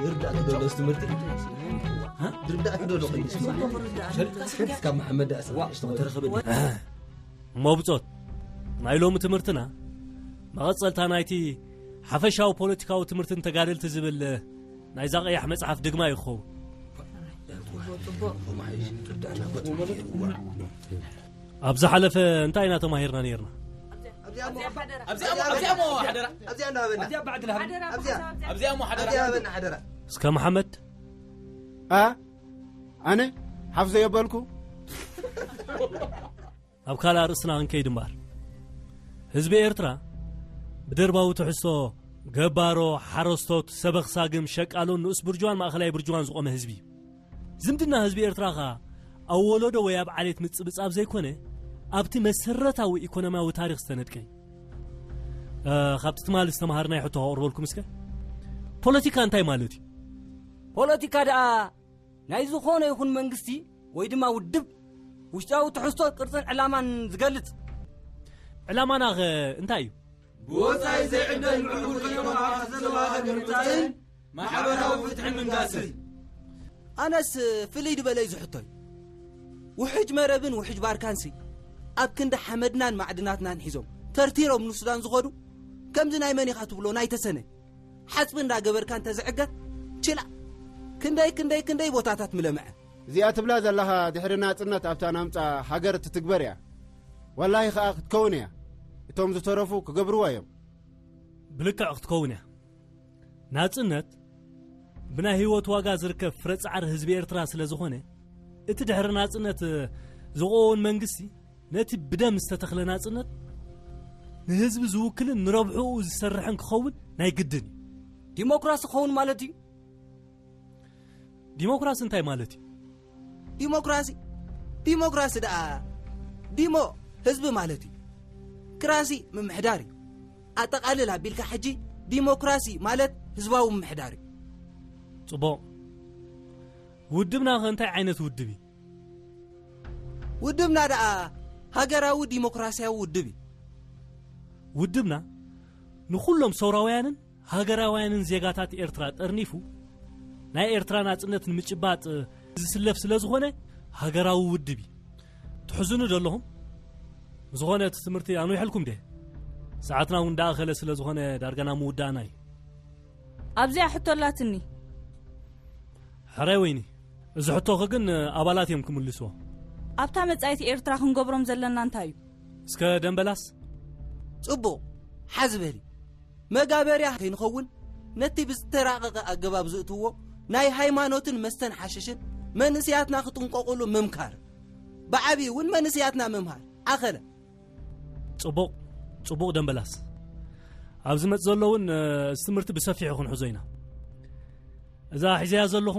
ይርዳእክ ዶ ዶስ ትምህርቲ? ይርዳእክ ዶ ዶ ቅድስ? እስካብ መሓመድ ዳእስ ተረኸበ። እሞ ብጾት ናይ ሎሚ ትምህርትና መቐጸልታ ናይቲ ሓፈሻዊ ፖለቲካዊ ትምህርትን ተጋደልቲ ዝብል ናይዛ ቀያሕ መጽሓፍ ድግማ እዩ ክኸውን። ኣብ ዝሓለፈ እንታይ ኢና ተማሂርና ነይርና? ኣብዚኣ እሞ ሓደራ። ኣብዚኣ እሞ ሓደራ። ኣብዚኣ እሞ ሓደራ። ኣብዚኣ እሞ ሓደራ። እስከ መሓመድ። ኣ ኣነ ሓፍ ዘየበልኩ። ኣብ ካልእ ኣርእስትና ክንከይድ እምበኣር፣ ህዝቢ ኤርትራ ብደርባዊ ትሕዝቶ ገባሮ፣ ሓረስቶት፣ ሰበኽ ሳግም፣ ሸቃሎን ንኡስ ብርጅዋን ማእኸላይ ብርጅዋን ዝቖመ ህዝቢ እዩ። ዝምድና ህዝቢ ኤርትራ ኸኣ ኣብ ወለዶ ወይ ኣብ ዓሌት ምጽብጻብ ዘይኮነ፣ ኣብቲ መሰረታዊ ኢኮኖሚያዊ ታሪኽ ዝተነድቀ እዩ። እ፣ ካብቲ ትማሊ ዝተምሃርናዮ ሕቶ ከቕርበልኩም እስከ። ፖለቲካ እንታይ ማለት እዩ? ፖለቲካ ደኣ ናይ ዝኾነ ይኹን መንግስቲ ወይ ድማ ውድብ ውሽጣዊ ትሕዝቶ፣ ቅርጽን ዕላማን ዝገልጽ። ዕላማና ኸ እንታይ እዩ? ብወጻኢ ዘይዕደል ምዕቡል ኢኮኖሚ ሃብቲ ዘለዋ ሃገር ምምጻእን ማሕበራዊ ፍትሒ ምንጋስን። ኣነስ ፍልይ ዝበለ እዩ ዝሕቶይ። ውሕጅ መረብን ውሕጅ ባርካንሲ ኣብ ክንዲ ሓመድናን ማዕድናትናን ሒዞም ተርቲሮም ንሱዳን ዝኸዱ፣ ከምዚ ናይ መን ኢኻ ትብሎ ናይ ተሰነ ሓጽቢ እንዳገበርካ እንተዝዕገት ችላ ክንደይ ክንደይ ክንደይ ቦታታት ምለምዐ። እዚኣ ትብላ ዘለኻ ድሕሪ ናጽነት ኣብታ ናምጻ ሃገር እትትግበር እያ። ወላሂ ኸኣ ክትከውን እያ። እቶም ዝተረፉ ክገብርዋ እዮም። ብልክዕ ክትከውን እያ። ናጽነት ብናይ ህይወት ዋጋ ዝርከብ ፍረ ጻዕሪ ህዝቢ ኤርትራ ስለ ዝኾነ፣ እቲ ድሕሪ ናጽነት ዝቐወን መንግስቲ ነቲ ብደም ዝተተኽለ ናጽነት ንህዝቢ ዝውክልን ንረብሕኡ ዝሰርሕን ክኸውን ናይ ግድን እዩ። ዲሞክራሲ ክኸውን ማለት እዩ። ዲሞክራሲ እንታይ ማለት እዩ? ዲሞክራሲ፣ ዲሞክራሲ ደኣ ዲሞ ህዝቢ ማለት እዩ። ክራሲ ምምሕዳር እዩ። ኣጠቓልል ኣቢልካ ሕጂ ዲሞክራሲ ማለት ህዝባዊ ምምሕዳር እዩ። ጽቡቕ። ውድብና ኸ እንታይ ዓይነት ውድብ እዩ? ውድብና ደኣ ሃገራዊ ዲሞክራሲያዊ ውድብ እዩ። ውድብና ንኹሎም ሰውራውያንን ሃገራውያንን ዜጋታት ኤርትራ ጠርኒፉ ናይ ኤርትራ ናጽነት ንምጭባጥ ዝስለፍ ስለ ዝኾነ ሃገራዊ ውድብ እዩ። ትሕዝኑ ዶ ኣለኹም? ብዝኾነ እቲ ትምህርቲ ኣንዊሐልኩም ድየ? ሰዓትና እውን እንዳኣኸለ ስለ ዝኾነ ዳርጋ ናብ ምውዳእና እዩ። ኣብዚኣ ሕቶ ኣላትኒ። ሕራይ ወይኒ፣ እዚ ሕቶኺ ግን ኣባላት እዮም ክምልስዎ። ኣብታ መጻኢት ኤርትራ ክንገብሮም ዘለና እንታይ እዩ? እስከ ደምበላስ? ጽቡቕ፣ ሓዚ በሊ። መጋበርያ ከይንኸውን፣ ነቲ ብዝተራቐቐ ኣገባብ ዝእትዎ ናይ ሃይማኖትን መስተን ሓሽሽን መንእስያትና ክጥንቀቑሉ ምምካር። ብዓብዩ እውን መንእስያትና ምምሃር። ኣኸለ። ጽቡቕ፣ ጽቡቕ ደምበላስ። ኣብ ዝመጽእ ዘሎ እውን፣ እ፣ እዚ ትምህርቲ ብሰፊሑ ክንሕዞ ኢና። እዛ ሒዘያ ዘለኹ